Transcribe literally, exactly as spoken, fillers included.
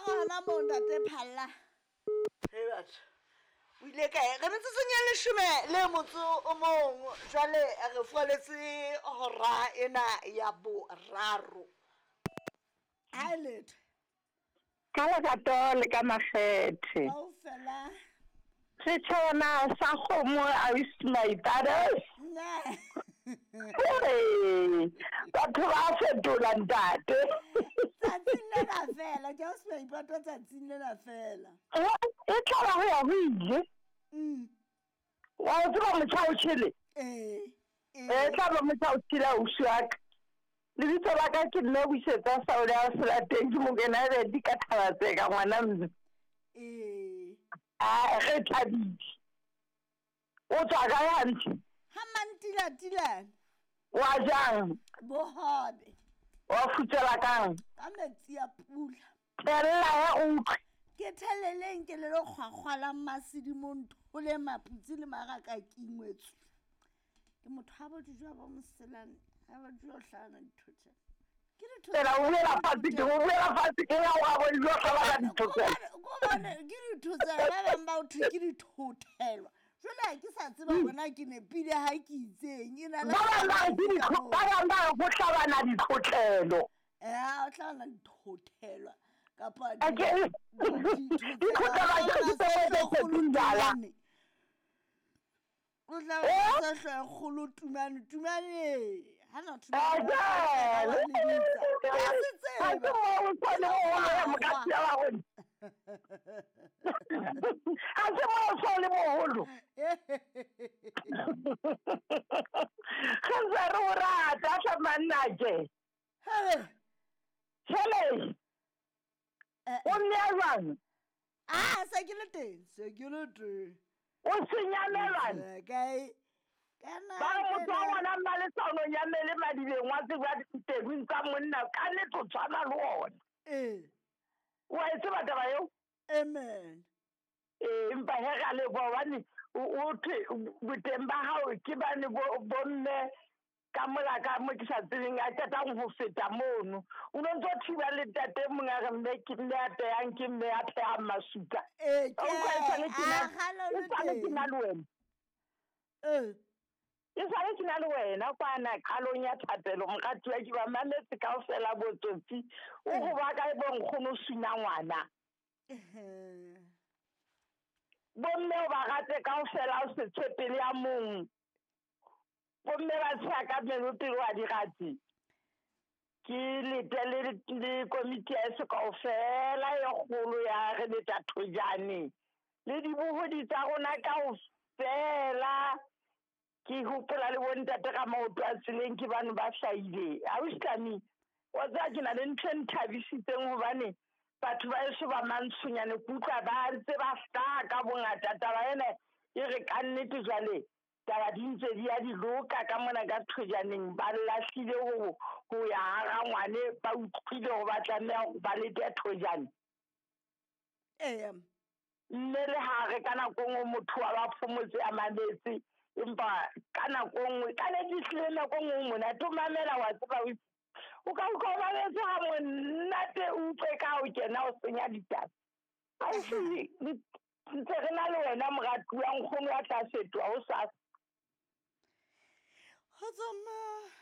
Gona mo ntate Phalla. He batho. O ile kae? Re metsotsong ya leshome le motso o mong. Jwale re fualetse hora ena ya boraro. Ha letho. Ka lerato le ka makgethe. Kaofela. Setjhaba sa kgomo ausi Maipato. Nna. Hey, batho ba fetola ntate. Tsatsing lena fela, ke ausi Maipato tsatsing lena fela. E tla ba ho ya ho ile. Mm. Wa o tseba motjha o tjhele? Eh. E tla ba motjha o tjhele ausi wa ka. Lebitso la ka ke nna Buisetsa Saole a Selateng, ke mokena bedi ka Thabatseka ngwana mme. Eh. A re thabile. O tswa kae hantle? Ha mantilatilane. Wa jang? Bohobe. Wa futsela kang? Ka metsi a pula. Thella ya utlwe. Ke theleleng ke le kgwakgwa la masedimo nthole maputsi le maraka ke ingwetswe. Ke motho ha bo dijo ba moselane, ha ba dijo hlana dithotse. Ke dithotse. Tsela o buela fatshe ke o buela fatshe ke ya wa bo dijo hlana dithotse. Ko bone ke dithotse ba bang ba o thwe ke dithothelwa. Jwale ha ke sa tseba hore na ke nepile ha ke itseng. E na le Ba bang ba re ke ditho-, ba bang ba re ho hlabana dithotlelo. Eh, ho hlabana dithothelwa. Kapa A ke- di-, dithotlelo ke di-, di tse tse tse jala. O tla Eh? ba hlooho e kgolo Tumane, Tumane. Ha na Eh, Tumane, jwale. ba lebitsa. Ke a se tseba. Ha ke mo o tshwane moholo ya mokatsi ya rona. Ha se mo o tshwane moholo. Re ntse re o rata hle manna ke. Hele. Hele. Eh, O mme a jwang? Ah, se ke le teng, se ke le teng. O senyamelwane? Eh, kae? Ka na Ba re ke motho wa na- ngwana Mmalesano o nyamele madibeng wa tseba ditebung tsa monna, ka nnete o tshwana le ona. Eh. Wa e tseba taba eo? Amen. Eh, empa he re a leboha hobane o, o thwe boteng ba hao ke bane bo, bomme ka mola ka mo ke sa tsebeng a qetang ho feta mono. O no ntso thiba le ntate e mong a re mme ke mme a phehang, ke mme a phehang masuka. Eh, Wa utlwa e sale ke na- ke, ah, kgale o le e sale ke teng. na le wena. Eh. E sale ke na le wena kwana qalong ya thapelo, moratuwa, ke ba mametse kaofela botsotsi. O Eh. go ba kae bo nkgono suna ngwana? Eh. Bomme o ba rate kaofela, o se tshepe le ya mong. Bomme ba tsheha ka meno pele wa di rate. Ke lete le, le komiti ya eso kaofela e kgolo ya re leta thojane. Le dibohodi tsa rona kaofela. Ke hopola le bontate ka maoto a tseleng ke bano ba hlahile. Ausi Tlami, wa tseba ke na le ntho e nthabisitseng hobane batho ba eso ba mantshonyane ke utlwa ba ntse ba hlaha ka bongata. Taba ena e re ka nnete jwale taba di ntse di ya di loka ka mona ka thojaneng, ba lahlile ho, ho ya hara ngwane, ba utlwile hore ba tlameha hore ba lete thojane. Ee. Mme le ha re ka nako e nngwe motho wa ba phomotse a mametse, empa ka nako e nngwe, ka nnete ehlile nako e nngwe monate o mamela wa tseba o itse. O ka utlwa o mametse ha monate, o utlwe ka ha o kena o senya ditaba. Ausi, ntse re na le wena moratuwa, nkgono wa tla fetoha hosasa. Ho tsamaya.